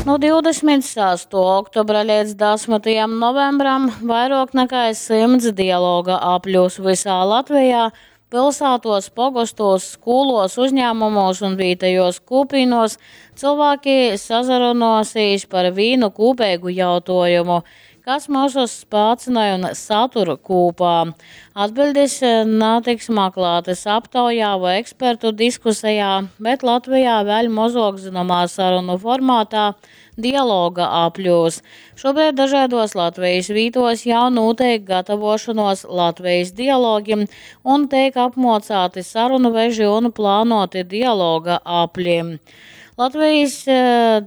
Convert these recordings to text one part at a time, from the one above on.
Nu 26. oktobra leidz 10. novembram vairuok nakai 100 dialoga apļūs vysā Latvejā, pilsātuos, pogostūs, skūluos, uzņāmumūs un vītejuos kūpīnuos cylvāki sasarunuosīs par vīnu kūpeigu jautuojumu, kas myusus spācynoj un satur kūpā. Atbiļdis natiks maklātys aptaujā voi ekspertu diskusejā, bet Latvejā vēļ mozuok zynomā sarunu formātā dialoga apļūs. Šobrīd dažādos Latvijas vītos jau notiek gatavošanos Latvijas dialogim un tiek apmocāti sarunu veži un plānoti dialoga apļi. Latvijas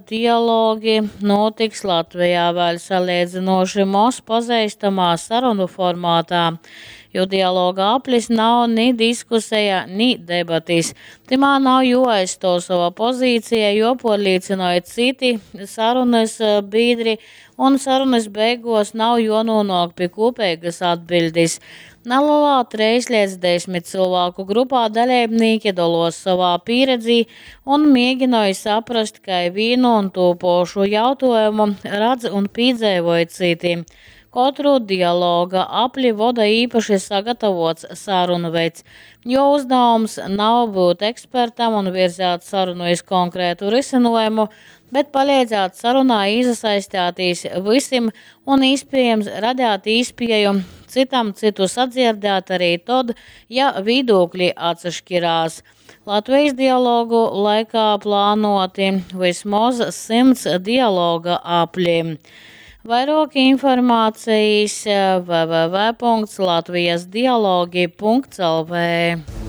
dialogi notiks Latvijā vēl salīdzinoši moz pazeistamā sarunu formātā, jo dialoga aplis nav ni diskuseja, ni debatis. Tymā nav juoaizstuov sova pozīcija, juopuorlīcynoj cyti sarunys bīdri, un sarunys beiguos nav juonūnuok pi kūpeigys atbiļdis. Nalelā 3 līdz 10 cylvāku grupā daleibnīki doluos sovā pīredzī un mieginoj saprast, kai vīnu un tū pošu jautuojumu radz un pīdzeivoj cyti. Kotru dialoga apli voda īpaši sagatavots sarunveds, jo uzdevums nav būt ekspertam un virzēt sarunu iz konkrētu risinājumu, bet paleidzēt sarunā īsasaistētīs vysim un īspiejams radēt īspieju cytam cytu sadzierdēt arī tod, ja vīdūkļi atsaškirās. Latvijas dialogu laikā plānuoti vysmoz 100 dialoga apļi. Vairuok informacejis www.latvijasdialogi.lv.